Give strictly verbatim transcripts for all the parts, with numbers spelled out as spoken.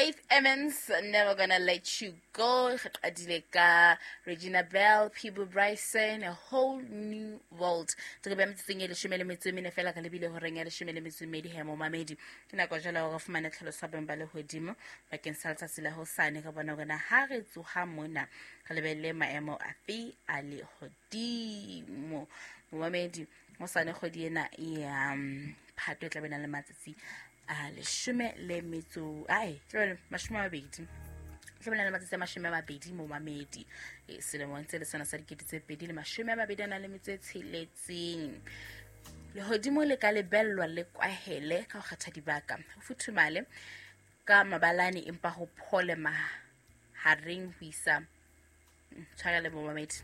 Faith Evans, Never Gonna Let You Go. Re qadile ka Regina Belle, Peabo Bryson, A Whole New World. Re be metsotsong e leshome le metso e mene fela re lebile horeng ya leshome le metso e mmedi he momamedi. Ke nako jwale hore re fumane tlhaloso ya boemo ba lehodimo bakeng sa letsatsi la hosane. Re bona hore na ha re tsoha mona re lebelle maemo afe a lehodimo. Momamedi, hosane kgwedi ena ya mm, Phato e tla be na le matsatsi a leshome le metso ai tlabe mashome a mabedi tlabe na le matsatsi a mashome a mabedi momamedi. E, selemong tse le sona sa dikete tse pedi le mashome a mabedi a nang le metso e tsheletseng. Lehodimo le ka lebellwa le kwahele ka ho kgetha dibaka, ho futhumale ka mabalane empa ho phole mahareng ho isa tshwarele momamedi.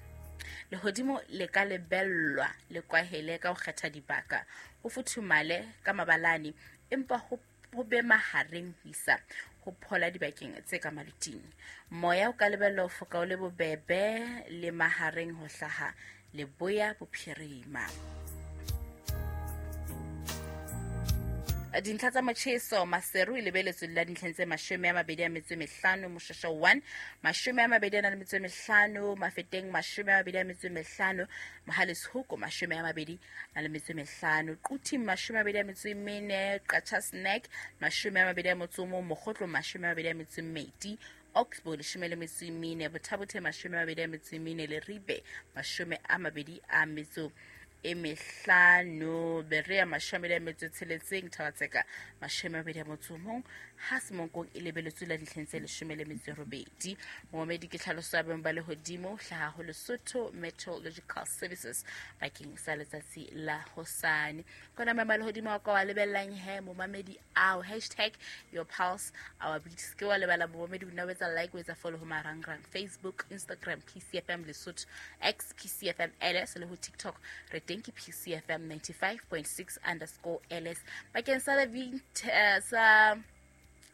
Lehodimo le ka lebellwa le kwahele ka ho kgetha dibaka, ho futhumale ka mabalane empa ho ho be mahareng ho isa ho phola dibakeng tse ka maluting. Moya o ka lebellwa ho foka o le bobebe le mahareng ho hlaha leboya bophirima. Dintlha tsa motjheso Maseru e lebeletswe la dintlheng tse mashome a mabedi a metso e mehlano, Moshweshwe one mashome a mabedi a nang le metso e mehlano, Mafeteng mashome a mabedi a metso e mehlano, Mohale's Hoek mashome a mabedi a le metso e mehlano, Quthing mashome a mabedi a metso e mene, Qacha's Nek mashome a mabedi a motso o mong, Mokhotlong mashome a mabedi a metso e mmedi, Oxbow leshome le metso e mene, Botha-Bothe mashome a mabedi a metso e mene, Leribe mashome a mabedi a metso e mehlano, Berea mashome a mabedi a metso e tsheletseng, Thaba-Tseka mashome a mabedi a motso o mong, ha Semonkong e lebeletswe la dintlheng tse leshome le metso e robedi. Momamedi, ke tlhaloso ya boemo ba lehodimo hlaha ho Lesotho Meteorological Services bakeng sa letsatsi la hosane. Kona maemo a lehodimo a ka wa lebellang he momamedi ao, hashtag your pulse our beat. Se ke wa lebala momamedi, o nna o etsa like, o etsa follow ho marangrang Facebook, Instagram, P C F M Lesotho, X P C F M L S le ho TikTok re teng ke P C F M ninety-five point six underscore L S. Bakeng sa the vint-, uh, sa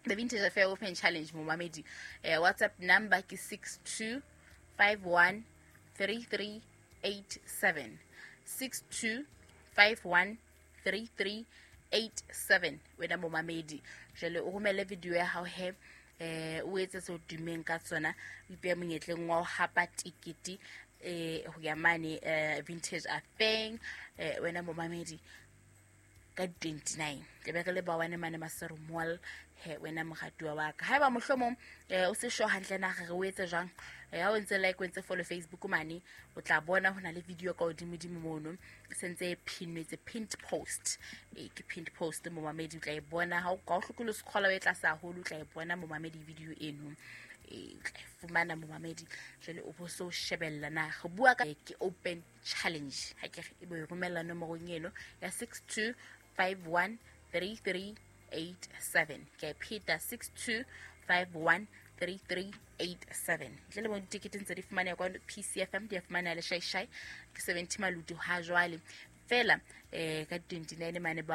the Vintage Affair Open Challenge momamedi, eh, WhatsApp number ke six two five one three three eight seven, six two five one three three eight seven. Wena momamedi jwale o romele video ya hao he, eh, o etse seo tummeng ka tsona, o ipehe monyetleng wa ho hapa tikete, eh, ho ya mane, eh, Vintage Affair, eh, wena momamedi ka twenty-nine. Tla be re le ba wane mane Maseru Mall he wena moratuwa wa ka. Haeba mohlomong, eh, o se sure hantle na re o etse jwang, eh, ha o ntse like, o ntse follow Facebook mane, o tla bona ho na le video ka hodimodimo mono, e sentse e pinnwe, it's a pinned post. Eh, ke pinned post momamedi, o tla e bona. Ha o ka o hloke le scrolla o e tlase haholo, o tla e bona momamedi video eno. Eh, o tla e fumana momamedi. Jwale o bo so shebella na re bua ka ke open challenge. Ha ke re e bo e romella nomorong eno ya six two five one three three eight seven. Ke a pheta, six two five one three three eight seven. Ntle le mo ditekete ntse di fumaneha kwa P C F M, di a fumaneha le Shai Shai, ke seventy maluti ha jwale. Fela, eh, ka twenty-nine mane ba